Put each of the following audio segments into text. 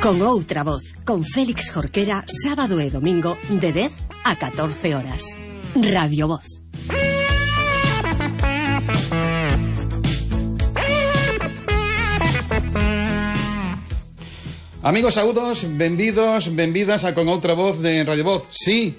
Con outra voz, con Félix Jorquera, sábado e domingo de 10 a 14 horas. Radio Voz. Amigos, saúdos, benvidos, benvidas a Con outra voz de Radio Voz. Sí,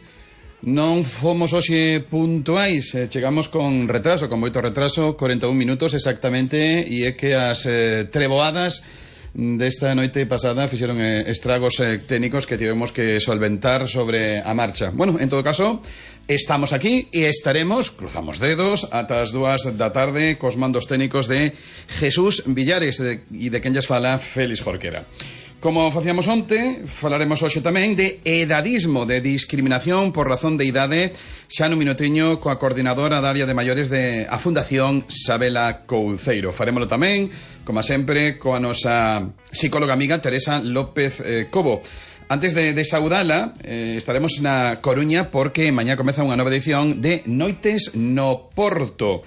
non fomos hoxe puntuais, chegamos con retraso, con moito retraso, 41 minutos exactamente, e é que as treboadas desta noite pasada fixeron estragos técnicos que tivemos que solventar sobre a marcha. Bueno, en todo caso, estamos aquí e estaremos, cruzamos dedos, ata as 2 da tarde cos mandos técnicos de Jesús Villares e de quen lles fala Félix Jorquera. Como facíamos onte, falaremos hoxe tamén de edadismo, de discriminación por razón de idade, xa no minuteño coa coordinadora da área de maiores de a Fundación Sabela Couceiro. Farémolo tamén, como sempre, coa nosa psicóloga amiga Teresa López Cobo. Antes de saudala, estaremos na Coruña porque mañá comeza unha nova edición de Noites no Porto.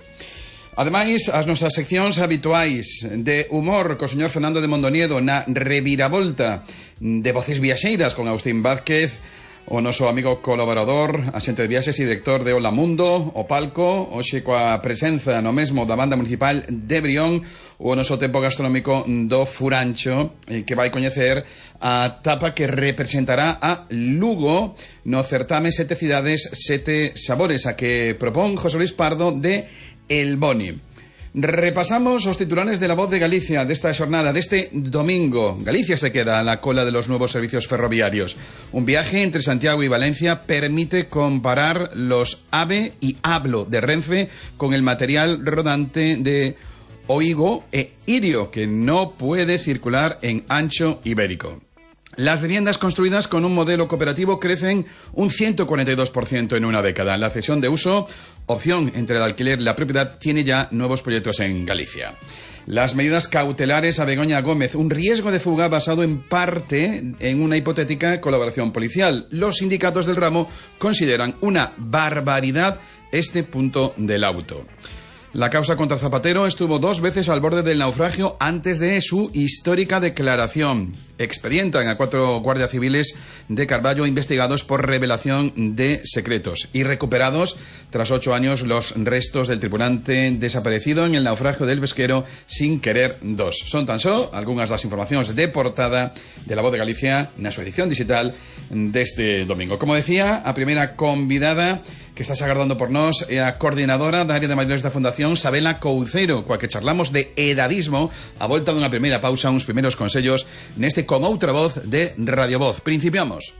Ademais, as nosas seccións habituais de humor co señor Fernando de Mondoniedo na reviravolta de Voces Viaxeiras con Agustín Vázquez, o noso amigo colaborador, axente de viaxes e director de Hola Mundo, o palco, hoxe coa presenza no mesmo da Banda Municipal de Brión, o noso tempo gastronómico do Furancho, que vai coñecer a tapa que representará a Lugo no certame Sete Cidades, Sete Sabores, a que propón José Luis Pardo de El Boni. Repasamos os titulares de La Voz de Galicia desta xornada, deste domingo. Galicia se queda a la cola de los nuevos servicios ferroviarios. Un viaje entre Santiago y Valencia permite comparar los AVE y ABLO de Renfe con el material rodante de Oigo e Irio, que no puede circular en ancho ibérico. Las viviendas construidas con un modelo cooperativo crecen un 142% en una década. La cesión de uso, opción entre el alquiler y la propiedad, tiene ya nuevos proyectos en Galicia. Las medidas cautelares a Begoña Gómez, un riesgo de fuga basado en parte en una hipotética colaboración policial. Los sindicatos del ramo consideran una barbaridad este punto del auto. La causa contra Zapatero estuvo 2 veces al borde del naufragio antes de su histórica declaración. Expedientan a 4 guardias civiles de Carballo investigados por revelación de secretos y recuperados tras 8 años los restos del tripulante desaparecido en el naufragio del Pesquero Sin Querer 2. Son tan só algunhas das informacións de portada de La Voz de Galicia na súa edición digital deste domingo. Como decía, a primeira convidada que estás agardando por nós é a coordinadora da área de maiores da Fundación Sabela Couceiro, coa que charlamos de edadismo a volta dunha primeira pausa, uns primeiros consellos neste Con outra voz de Radio Voz. Principiamos.